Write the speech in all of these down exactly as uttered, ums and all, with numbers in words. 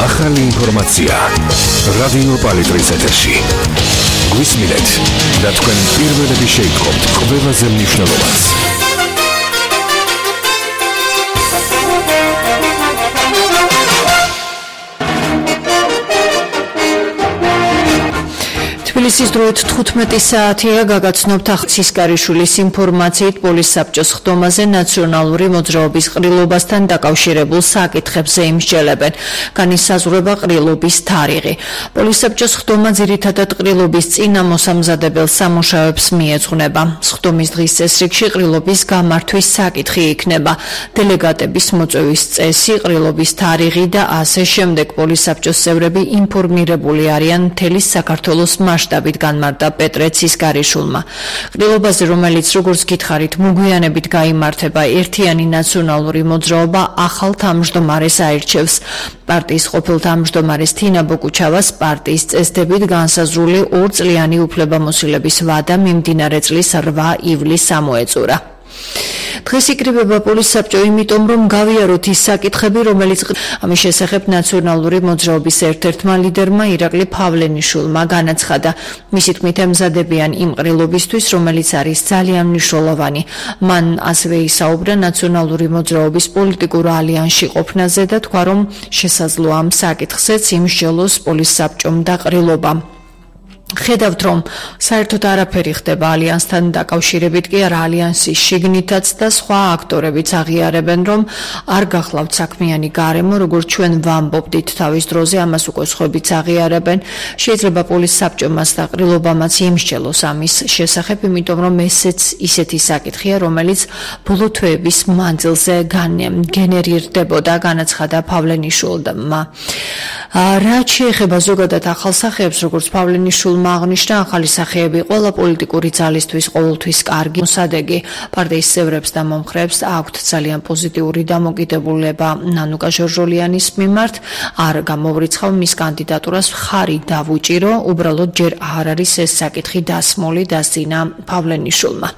ახალი ინფორმაცია რადიო პალიტრის ეთერში. გვისმინეთ და თქვენ პირველები შეიტყობთ ყველაზე მნიშვნელოვანს. თბილისის დროით თხუთმეტი საათია გაგაცნობთ ახსისკარიშვილის ინფორმაციით პოლის საბჭოს ხდომაზე ნაციონალური მოძრაობის ყრილობასთან დაკავშირებულ საკითხებზე იმსჯელებენ. განისაზღვრება ყრილობის თარიღი. პოლის საბჭოს ხდომა ძირითადად ყრილობის წინა მოსამზადებელ სამუშაოებს მიეძღვნება. ხდომის დღის წესრიგში ყრილობის გამართვის საკითხი იქნება. დელეგატების მოწვევის წესი, ყრილობის თარიღი და ასე შემდეგ. პოლის საბჭოს წევრები ინფორმირებული არიან მთელი საქართველოს მასშტაბით, განმარტა პეტრე ცისკარიშვილმა. ყრილობაზე, რომელიც როგორც გითხარით, მოგვიანებით გაიმართება, ერთიანი ნაციონალური მოძრაობა ახალ თავმჯდომარეს აირჩევს. პარტიის ყოფილ თავმჯდომარეს თინა ბოკუჩავას პარტიის წესდებით განსაზღვრული ორწლიანი უფლებამოსილების ვადა მიმდინარე წლის რვა ივლისს ამოეწურა. დღეს იკრიბება პოლის საბჭო იმიტომ, რომ გავიაროთ ის საკითხები, რომელიც ამის შესახებ ნაციონალური მოძრაობის ერთ-ერთმა ლიდერმა ირაკლი ფავლენიშვილმა განაცხადა. მისი თქმით, ემზადებიან იმ ყრილობისთვის, რომელიც არის ძალიან მნიშვნელოვანი. მან ასევე ისაუბრა ნაციონალური მოძრაობის პოლიტიკურ ალიანსში ყოფნაზე და თქვა, რომ შესაძლოა ამ საკითხზეც იმსჯელოს პოლის საბჭომ და ყრილობამ. ხედავთ, რომ საერთოდ არაფერი ხდება ალიანსთან დაკავშირებით, კი არა ალიანსის შიგნითაც და სხვა აქტორებიც აღიარებენ, რომ არ გახლავთ საქმიანი გარემო, როგორც ჩვენ ვამბობდით თავის დროზე, ამას უკვე სხვაებიც აღიარებენ. შეიძლება პოლის საბჭომაც და ყრილობამაც იმსჯელოს ამის შესახებ, იმიტომ რომ ესეც ისეთი საკითხია, რომელიც ბოლო თვეების მანძილზე გენერირდებოდა, განაცხადა ფავლენიშვილმა. რაც შეეხება ზოგადად ახალ სახეებს, როგორც ფავლენიშვილმა აღნიშნა, ახალი სახეები ყველა პოლიტიკური ძალისთვის ყოველთვის კარგი მოსადეგი. პარტიის წევრებს და მომხრეებს აქვთ ძალიან პოზიტიური დამოკიდებულება ნანუკა ჟორჟოლიანის მიმართ. არ გამოვრიცხავ მის კანდიდატურას, მხარი დავუჭირო, უბრალოდ ჯერ არ არის ეს საკითხი დასმული, დასძინა ფავლენიშვილმა.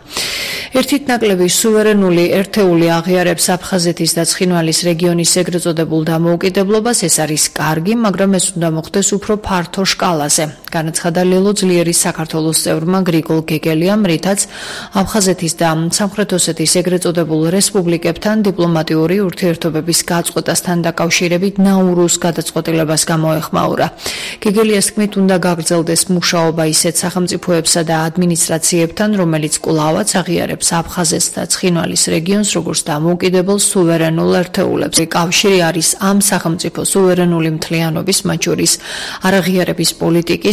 ერთით ნაკლები სუვერენული ერთეული აღიარებს აფხაზეთის და ცხინვალის რეგიონის ეგრეთ წოდებულ დამოუკიდებლობას. ეს არის კარგი, მაგრამ ეს უნდა მოხდეს უფრო ფართო შკალაზე. განაცხადა ლელო ძლიერი საქართველოს წევრმა გრიგოლ გეგელიამ, რითაც აფხაზეთის და სამხრეთ ოსეთის ეგრეთ წოდებულ რესპუბლიკებთან დიპლომატიური ურთიერთობების გაწყვეტასთან დაკავშირებით ნაურუს გადაწყვეტილებას გამოეხმაურა. გეგელიას თქმით, უნდა გაგრძელდეს მუშაობა ისეთ სახელმწიფოებსა და ადმინისტრაციებთან, რომელიც კვლავაც აღიარებს აფხაზეთს და ცხინვალის რეგიონს როგორც დამოუკიდებელ სუვერენულ ერთეულებს. კავშირი არის ამ სახელმწიფო სუვერენული მთლიანობის, მათ შორის არაღიარების პოლიტიკის